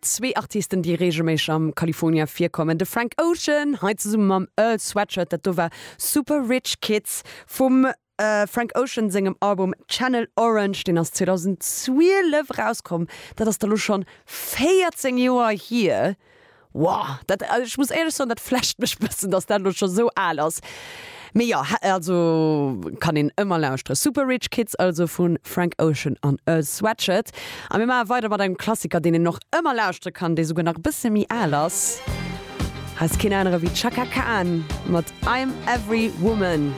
Zwee Artisten, déi reegelméisseg am California virkommen, de Frank Ocean, hei zesumme mam Earl Sweatshirt. Dat do war Super Rich Kids vum Frank Ocean sengem Album Channel Orange. Deen ass 2012 erauskomm. Dat ass da lo schonn 14 Joer hier. Wow, dat, ech muss éierlech soen, dat flasht mech bëssen, dass dat elo scho sou al ass. Mee jo, also kann een ëmmer lauschteren. Super Rich Kids also vu Frank Ocean an Earl Sweatshirt. A mir maache weider mat engem Klassiker, deen een och ëmmer lauschtere kann, dee souguer nach e bësse méi al ass. Hei ass keen anere wéi d'Chaka Khan mat I'm Every Woman.